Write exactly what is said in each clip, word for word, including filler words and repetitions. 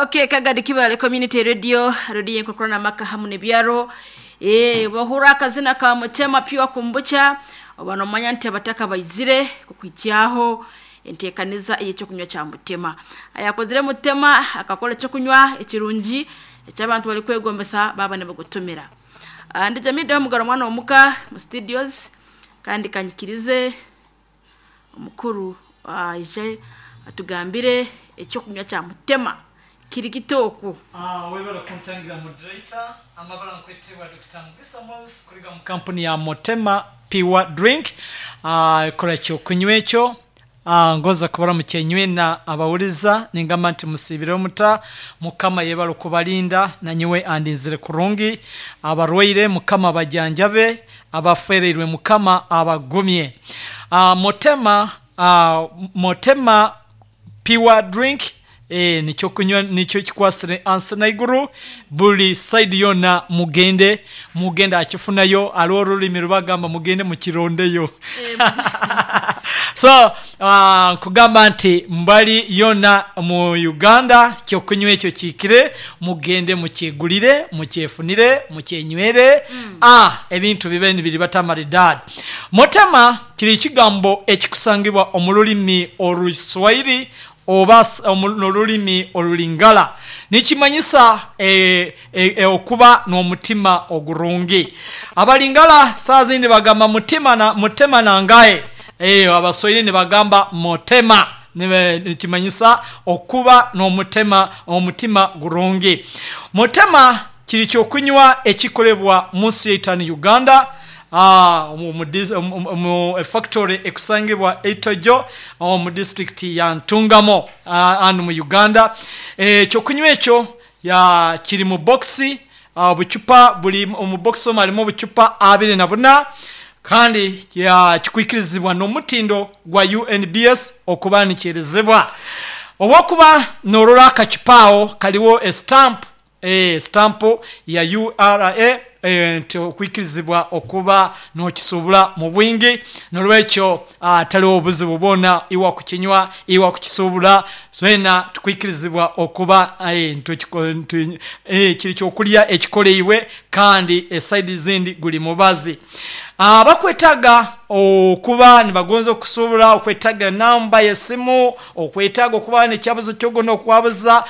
Okay, Kagadi Kibale Community Radio, radio enkokorana maka hamu nebyaro. Eh, bahura akazina ka Mutema Pure Kombucha, obanomanya nti abataka baizire kukwijyaho entekaniza ey'ekyokunywa kya Mutema. Ayakozire Mutema akakora ekyokunywa ekirungi ekyabantu bali kwegombesa baba nibagutumira. Ah, ndi Jamida mugaro mwana omuka mu studios kandi kanyikirize omukuru aije atugambire ekyokunywa kya Mutema kiri kitoko. Ah, webale kuntangira moderator amabara nkwetebwa Dr. Mugisa Moses kuriga mu kampuni ya Motema Pure Drink. Ah, kora ekyokunywa ekyo. Ah, ngoza kubara mukenywe na abawuliza ningamba nti musibire omuta mukama yebale okubalinda nanyiwe andinzire kurungi abarwaire mukama bajanjabe abafereirwe mukama abagumye. Ah, Motema ah, Motema Pure Drink e, nikyo kunywa nikyo kikwasire ansi naiguru buli side yona mugende mugende akifunayo aliwo olulimi lubagamba mugende mukirondeyo so uh, nkugamba nti mbali yona mu Uganda kyokunywa ekyo kiikire mugende mukyegulire mukyefunire mukyenywere mm. ah, ebintu bibe nibiri batamaridadi. Motema kiri ekigambo ekikusangibwa omu lulimi Oluswahili oba n'olulimi Olulingala, nikimanyisa e, e, e, okuba n'omutima ogurungi. Abalingala saa zindi bagamba mutima na, mutema nangaye e, Abaswahili nibagamba motema nikimanyisa okuba n'omutima omutima gurungi. Motema kiri kyokunywa ekikolebwa mu nsi eitano Uganda. Ah, mu, mu factory ekusangibwa Itojo mu district ya Ntungamo anu mu Uganda. Ekyokunywa ekyo ya kiri mu boxi, obucupa buli mu box omwo harimu obucupa abiri na buna kandi kikwikirizibwa n'omutindo gwa U N B S okuba nikirizibwa. Obwokuba norora akacupa aho kariho estamp, eh, stamp ya U R A nti okwikirizibwa okuba nokisubula mu bwingi, nolwekyo ataliwo obuzibu bwona iwa kukinywa iwa kukisubula swena tukwikirizibwa okuba kiri kyokulya ekikoleiwe kandi esaidi zindi guli mubazi. Abakwetaga okuba nibagonza okusubula, okwetaga namba y'esimu, okwetaga okuba n'ekyabuzo kyogona okwabuza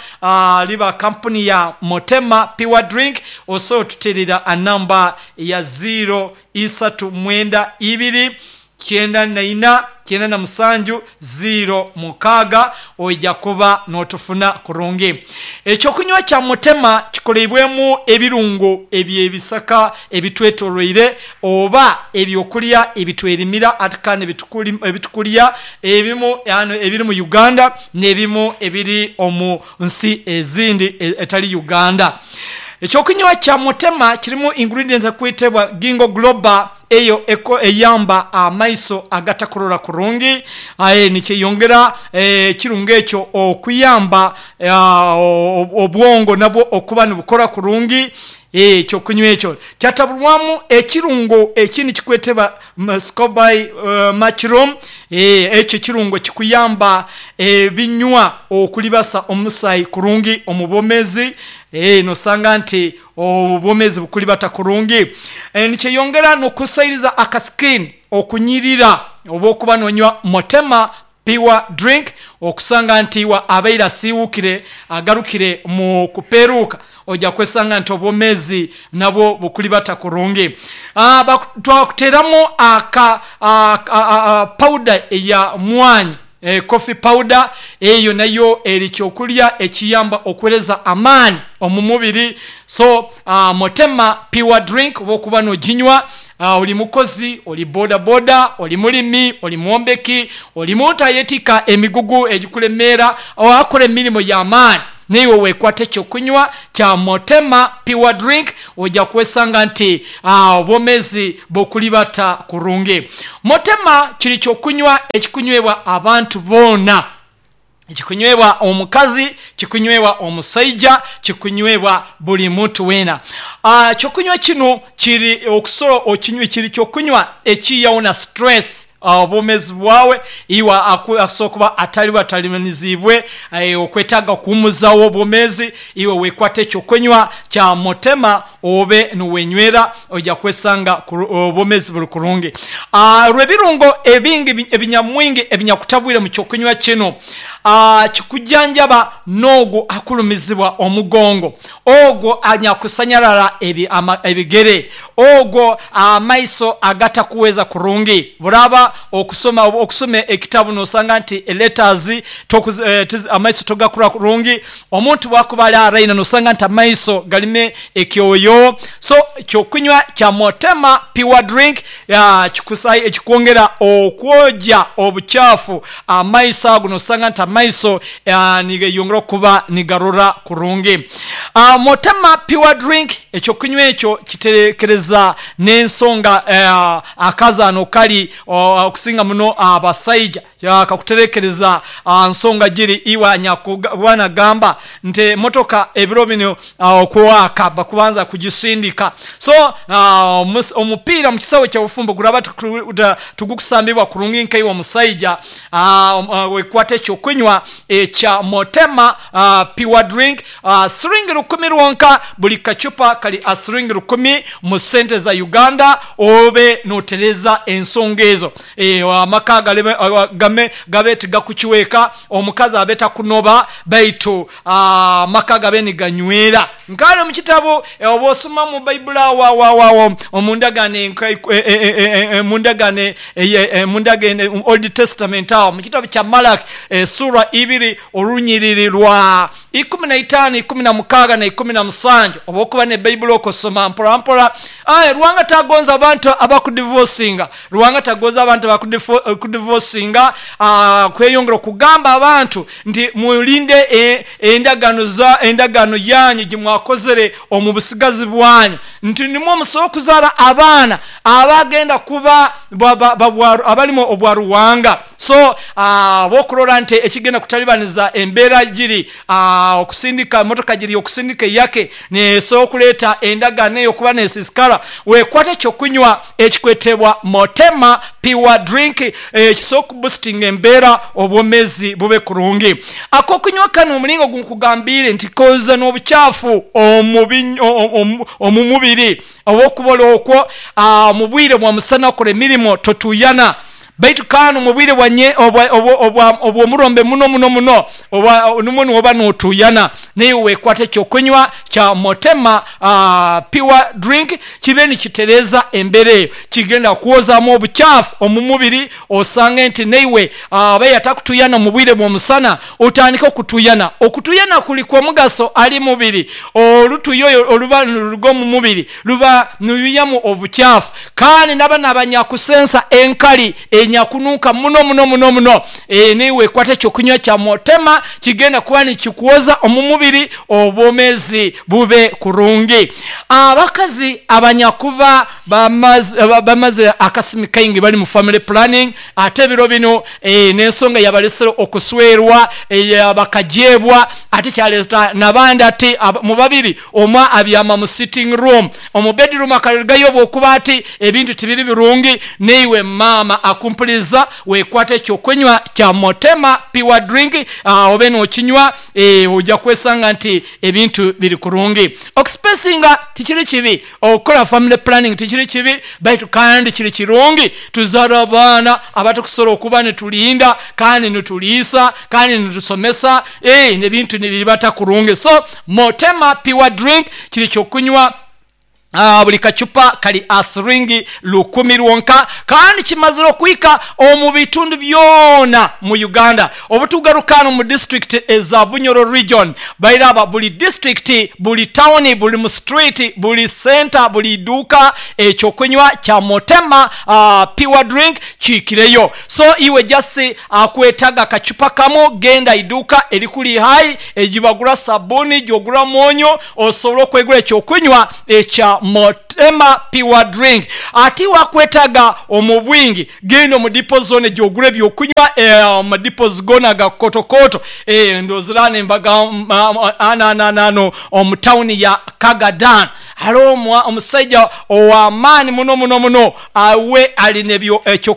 liba kampuni ya Motema Pure Drink, osobola otuterera anamba ya zero isatu mwenda ibiri kyenda naina kyenda na musanju zero mukaaga oija kuba n'otufuna kurungi. Ekyokunywa kya Mutema kikoleibwemu ebirungo ebyebisaka ebitwetoroire oba ebyokulya ebitwerimira ate kandi ebitukulya ebimu ebiri mu Uganda n'ebimu ebiri omu nsi ezindi etali Uganda. Ekyokunywa kya Mutema kirimu ingredients ekwetebwa Gingo Global eyo eko eyamba amaiso agatakurora kurungi, aye nikyeyongera ekirungo ekyo okuyamba obwongo nabwo okuba nibukora kurungi. Ekyokunywa ekyo kyatabulwamu ekirungo ekindi kikwetebwa scobai mushroom, ekyo kirungo kikuyamba ebinywa okulibasa omusaayi kurungi omu bwomezi, nosanga nti obwomezi bukulibata kurungi. Nikyeyongera n'okusairiza akaskin okunyirira oba okuba nonywa Motema Pure Drink okusanga nti wa abaire asiiwukire agarukire mu kuperuuka ojja kwesanga nti obwomezi nabwo bukulibata kurungi. Twakuteramu aka powder eya mwanyi, e, coffee powder eyo nayo eri kyokulya ekiyamba okwereza amaani omu mubiri. So uh, Motema Pure Drink oba okuba noginywa, uh, oli mukozi, oli boda boda, oli mulimi, oli mwombeki, oli muntu ayetika emigugu egikulemeera akora emirimu y'amaani, niiwe weekwata ekyokunywa kya Motema Pure Drink ojja kwesanga nti obwomezi bukulibata kurungi. Motema kiri kyokunywa ekikunywebwa abantu boona, kikunywebwa omukazi, kikunywebwa omusaija, kikunywebwa buli muntu weena. Kyokunywa kino kiri okusobola okinywa kiri kyokunywa ekiyawo na stress. Obwomezi bwawe iwe asobola kuba atali atalimanizibwe okwetaaga kuhumuzawo obwomezi, iwe wekwata ekyokunywa kya Motema obe niwenywera, ojja kwesanga obwomezi buli kurungi. Rwebirungo ebingi ebinyamwingi ebinyakutabwire mu kyokunywa kino, kikujanjaba n'ogwo akulumizibwa omugongo, ogwo anyakusanyarara ebigere, ogwo amaiso agatakuweza kurungi. Buraba okusoma okusoma ekitabu nosanga nti letters amaiso togakurora kurungi, omuntu bwakuba ali araina nosanga nti amaiso galime ekyoyo. So kyokunywa kya Motema Pure Drink kikwongera okwoja obukyafu amaiso ago, nosanga nti amaiso nigeyongera okuba nigarora kurungi. Motema Pure Drink ekyokunywa ekyo kiterekereza n'ensonga akazaano kali okusinga muno abasaija, kakuterekereza nsonga giri iwe anyakuba nti emotoka ebiro bino okwaka bakubanza kugisindika. So omupiira mu kisawe kyobufumbo guraba tugukusambibwa kurungi nkaiwe omusaija, wekwata ekyokunywa ekya Motema Pure Drink, siringi rukumi rwonka, buli kacupa kali siringi rukumi mu sente za Uganda, obe notereza ensonga ezo, amaka gabe tigakukiweka, omukazi abe takunoba, baitu amaka gabe niganywera. Nkale omu kitabo oba osoma mu Bayibuli awo awo awo omundagaano mundagaano Old Testament awo mu kitabo kya Malaki sura ibiri orunyiriri rwa ikumi na itaano, ikumi na mukaaga na ikumi na musanju, oba okuba ne Bayibuli okosoma mpora mpora. Ruhanga tagonza abantu abakudivosinga, Ruhanga tagonza abantu abakudivosinga, kweyongera okugamba abantu nti mulinde endagaano za endagaano yanyu gimwakozere omu busigazi bwanyu, nti nimwo musobola okuzaara abaana abagenda kuba abalimu obwa Ruhanga. So bwokurora nti ekigenda kutalibaniza embeera giri okusindika emotoka giri okusindika eyake nesobola okuleeta endagaano eyo okuba nesisikara, wekwata ekyokunywa ekikwetebwa Motema Pure Drink ekisobola okubusitinga embeera obwomezi bube kurungi. Akokunywa kano omulingo gunkugambire nti koza n'obukyafu omu mubiri, oba okubola okwo mu bwire bwa musana okora emirimo totuyana, baitu kandi omu bwire obw'omurombe muno muno muno nimwo noba notuyana, naiwe wekwata ekyokunywa kya Motema Pure Drink kibe nikitereza embeera eyo, kigenda kwozamu obukyafu omu mubiri, osange nti naiwe abaye atakutuyana mu bwire bw'omusana otandike okutuyana. Okutuyana kuli kwa mugaso ali mubiri, olutuyo oyo oluba niruruga omu mubiri luba nirwihamu obukyafu, kandi n'abana abanyakusensa enkali enyakunuka muno muno muno muno, naiwe wekwata ekyokunywa kya Motema kigenda kuba nikikwoza omu mubiri, obwomezi bube kurungi. Abakazi abanyakuba bamaze akasimi kaingi bali mu family planning, ate ebiro bino n'ensonga yabalesere okuswerwa, bakajebwa, ate kyaleta n'abandi ati mu babiri omwe abyama mu sitting room, omu bedroom akarugayo bwokuba ati ebintu tibiri birungi, naiwe maama akumpuriza wekwata ekyokunywa kya Motema Pure Drink, obe nokinywa ojja kwesanga nti ebintu biri kurungi. Okusipesinga tikiri kibi, okukora family planning tikiri kibi, baitu kandi kiri kirungi tuzaara abaana abatukusobola okuba nitulinda kandi nituliisa kandi nitusomesa, ebintu nibiribata kurungi. So Motema Pure Drink kiri kyokunywa, buli kacupa kali siringi rukumi rwonka, kandi kimazire okuhika omu bitundu byona mu Uganda. Obutugaruka hanu mu disitulikiti eza Bunyoro region, bairaba buli disitulikiti, buli tawuni, buli mu street, buli center, buli iduuka ekyokunywa kya Motema Pure Drink kiikireyo. So iwe just akwetaga akacupa kamu, genda iduuka erikuli hayi egyibagura sabuni, gyogura mwonyo, osobole okwegura ekyokunywa ekya Motema Pure Drink. Ate iwe akwetaga omu bwingi, genda omu dipo zona gyogura ebyokunywa, omu dipos gona aga kotokoto, ndowooza ananano omu tawuni ya Kagadan hariho omusaija ow'amaani muno muno muno, we alina ekyokunywa.